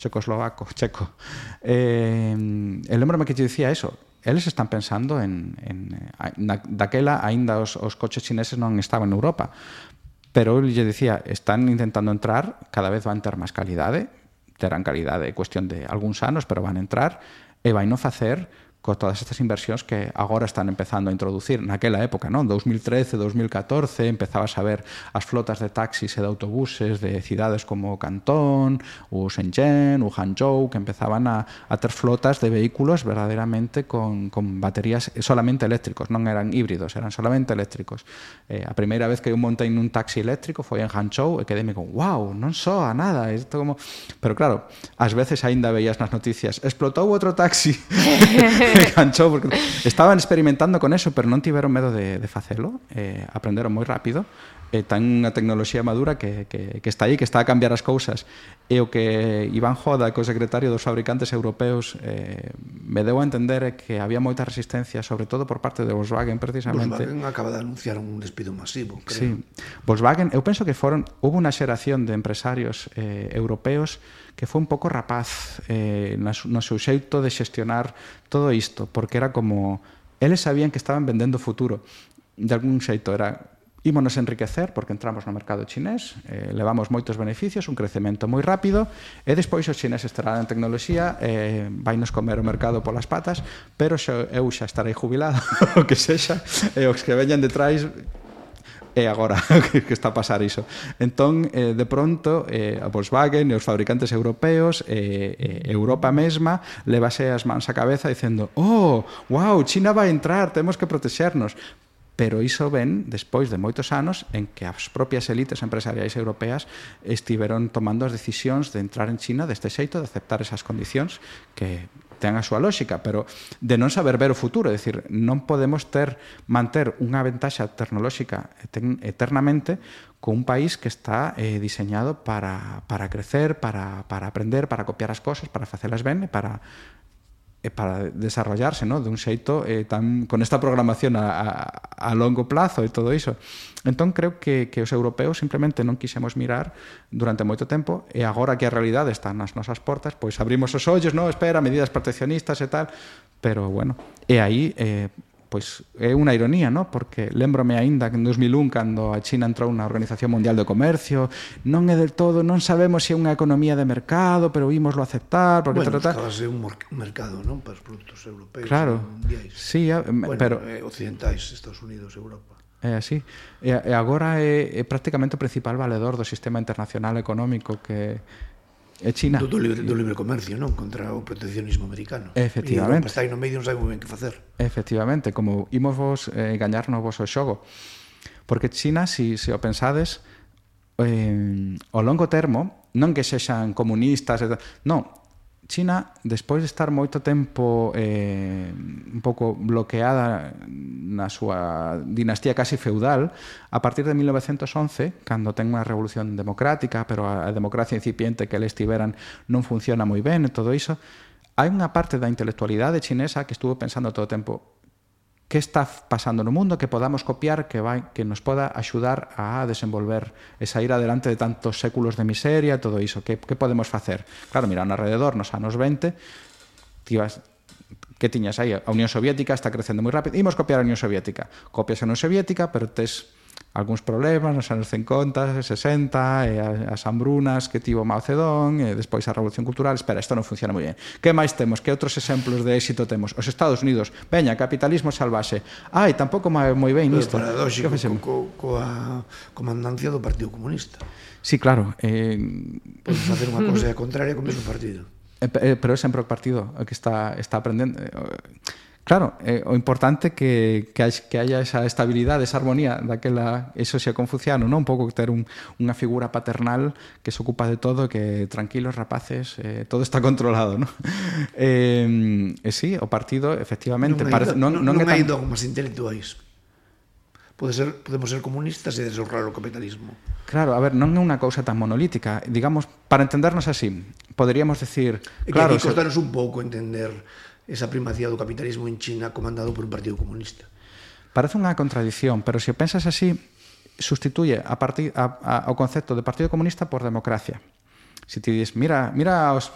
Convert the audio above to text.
checo. Lembrome que te dicía eso. Eles están pensando daquela aínda os coches chineses non estaban en Europa, pero eu lle dicía, están intentando entrar, cada vez van ter máis calidade, terán calidade, cuestión de algúns anos, pero van entrar e vai non facer con todas estas inversións que agora están empezando a introducir. Naquela época, non? 2013, 2014, empezabas a ver as flotas de taxis e de autobuses de cidades como Cantón, ou Shenzhen, ou Hangzhou, que empezaban a ter flotas de vehículos verdadeiramente con baterías solamente eléctricos, non eran híbridos, eran solamente eléctricos. A primeira vez que eu montei nun taxi eléctrico foi en Hangzhou e quedeme con, wow, non soa nada. Isto como... Pero claro, ás veces aínda veías nas noticias, explotou outro taxi enganchou, porque estaban experimentando con eso, pero non tiveron medo de facelo, aprenderon moi rápido, ten unha tecnoloxía madura que está aí, que está a cambiar as cousas, e o que Iván Joda, que é o secretario dos fabricantes europeos, me deu a entender é que había moita resistencia, sobre todo por parte de Volkswagen, precisamente. Volkswagen acaba de anunciar un despido masivo, creo. Sí. Volkswagen, eu penso que hubo unha xeración de empresarios europeos que foi un pouco rapaz no seu xeito de xestionar todo isto, porque era como... Eles sabían que estaban vendendo futuro. De algún xeito era... Ímonos enriquecer porque entramos no mercado chinés, levamos moitos beneficios, un crecemento moi rápido, e despois os chineses terán tecnoloxía, vainos comer o mercado polas patas, pero eu xa estarei jubilado, o que sexa, e os que veñan detrás... E agora que está a pasar iso. Entón, de pronto, a Volkswagen e os fabricantes europeos, Europa mesma, levase as mans á cabeza dicendo, oh, wow, China vai entrar, temos que protexernos. Pero iso ven despois de moitos anos en que as propias élites empresariais europeas estiveron tomando as decisións de entrar en China deste xeito, de aceptar esas condicións que ten a súa lógica, pero de non saber ver o futuro, é dicir, non podemos manter unha ventaxa tecnolóxica eternamente con un país que está diseñado para crecer, para aprender, para copiar as cosas, para facelas ben e para desarrollarse, ¿no? De un xeito con esta programación a longo plazo e todo iso. Entón creo que os europeos simplemente non quixemos mirar durante moito tempo, e agora que a realidade está nas nosas portas, pois abrimos os ollos, no, espera, medidas proteccionistas e tal, pero bueno, e aí pois é unha ironía, ¿no? Porque lembrome aínda que en 2001, cando a China entrou na Organización Mundial do Comercio, non é del todo, non sabemos se é unha economía de mercado, pero ímoslo aceptar, porque bueno, estaba a ser un mercado, non? Para os produtos europeos, claro, mundiais. Sí, bueno, pero occidentais, Estados Unidos, Europa. É así. E agora é prácticamente o principal valedor do sistema internacional económico que é China. Do libre comercio, non? Contra o proteccionismo americano. Efectivamente. E Europa está aí no medio, non sabe moi ben que facer. Efectivamente, como imos vos gañarnos vos o xogo. Porque China, se o pensades, ao longo termo, non que sexan comunistas, non, China, despois de estar moito tempo un pouco bloqueada na súa dinastía casi feudal, a partir de 1911, cando ten unha revolución democrática, pero a democracia incipiente que eles tiveran non funciona moi ben e todo iso, hai unha parte da intelectualidade chinesa que estuvo pensando todo o tempo que está pasando no mundo, que podamos copiar, que nos poda axudar a desenvolver e sair adelante de tantos séculos de miseria, todo iso, que podemos facer? Claro, mira, no alrededor, nos anos 20, que tiñas aí? A Unión Soviética está crecendo moi rápido, imos copiar a Unión Soviética. Copias a Unión Soviética, pero tes algúns problemas nos anos 50, 60, e as hambrunas que tivo Mao Zedong, e despois a Revolución Cultural. Espera, isto non funciona moi ben. Que máis temos? Que outros exemplos de éxito temos? Os Estados Unidos. Veña, capitalismo salvaxe. Ai, tampouco moi ben isto. Paradóxico, coa comandancia do Partido Comunista. Sí, claro. Podes facer unha cousa contraria con o mesmo partido. Pero é sempre o partido que está aprendendo. Claro, o importante que haya esa estabilidade, esa armonía daquela, eso xa confuciano, non? Un pouco ter unha figura paternal que se ocupa de todo, que tranquilos rapaces, todo está controlado, non? Sí, o partido, efectivamente, non hai dogmas intelectuais. Podemos ser comunistas e deshonrar o capitalismo. Claro, a ver, non é unha cousa tan monolítica. Digamos, para entendernos así, poderíamos decir... Claro, que aquí costanos un pouco entender esa primacía do capitalismo en China comandado por un partido comunista. Parece unha contradición, pero se o pensas así, sustituye o concepto de partido comunista por democracia. Se ti dis, mira os